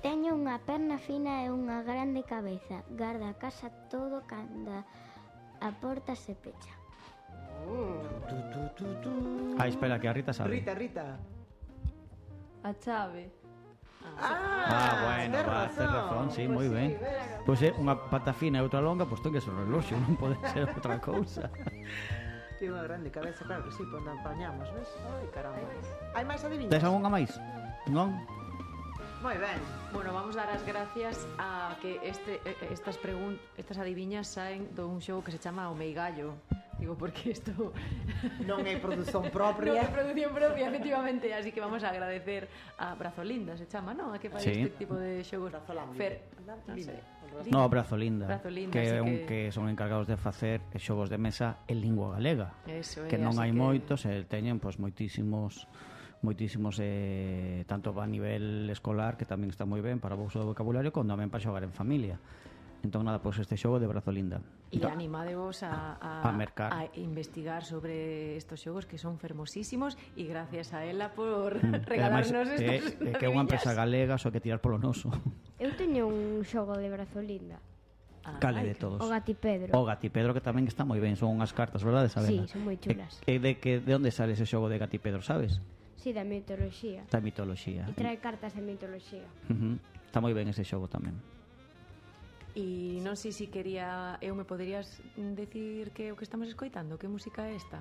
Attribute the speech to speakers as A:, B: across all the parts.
A: Teño unha perna fina e unha grande cabeza. Garda a casa todo cando a porta se pecha.
B: Espera, que a Rita sabe.
C: Rita.
D: A chave.
B: Bueno, va a hacer razón, sí, moi ben. Pois é unha pata fina e outra longa, pois ten que ser un reloxo, non pode ser outra cousa.
C: Tiene unha grande cabeza, claro que sí, quando apañamos, ves? Ai, caramba. Hai máis adivinhas?
B: Tes algunha máis? Non?
C: Moi ben.
D: Bueno, vamos dar as gracias a que estas adiviñas saen dun xogo que se chama O Meigallo. Digo, porque isto
C: non é produción propia.
D: Non é produción propia, efectivamente. Así que vamos a agradecer a Brazolinda, se chama, non? A que fai este tipo de xogos.
B: Brazolinda, que son encargados de facer xogos de mesa en lingua galega. Que non hai moitos, teñen moitísimos tanto a nivel escolar, que tamén está moi ben para o uso do vocabulario, como tamén para xogar en familia. Entón nada, pois este xogo de Brazolinda.
D: E animadevos a investigar sobre estos xogos que son fermosísimos, e gracias a ela por regalarnos estos
B: que é unha empresa galega, só que tirar polo noso.
A: Eu teño un xogo de Brazolinda.
B: Cale de todos?
A: O Gatipedro.
B: O Gatipedro, que tamén está moi ben, son unhas cartas, verdade, Sabela?
A: Sí, son moi chulas.
B: De onde sale ese xogo de Gatipedro, sabes?
A: Sí, da mitoloxía.
B: Da mitoloxía.
A: E trae cartas de mitoloxía.
B: Está moi ben ese xogo tamén.
D: E non sei se quería... me poderías decir que é o que estamos escoitando? Que música é esta?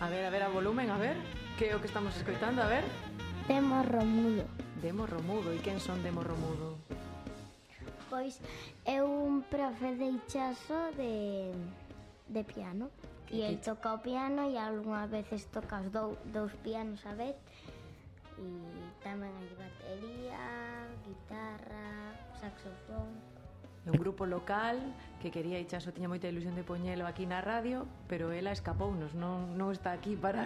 D: A ver, a volumen, a ver. Que é o que estamos escoitando, a ver.
A: Demo Romudo.
D: Demo Romudo. E quen son Demo Romudo?
A: Pois é un profe de Ichaso de piano. E el toca o piano e algunhas veces toca os dous pianos a vez. E tamén hai batería, guitarra, saxofón.
D: É un grupo local que quería Ichaso, tiña moita ilusión de poñelo aquí na radio, pero ela escapounos, non está aquí para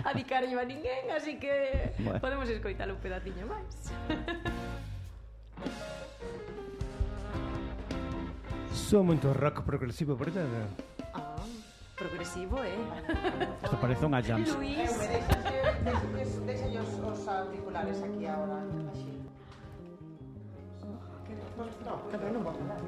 D: adicarlle a ninguén, así que podemos escoitar un pedaciño máis.
E: Son moito rock progresivo, verdade?
D: Progresivo,
B: Isto parece unha jams.
D: Luís,
C: deixalle os auriculares aquí agora, así. No, pero non vou falar.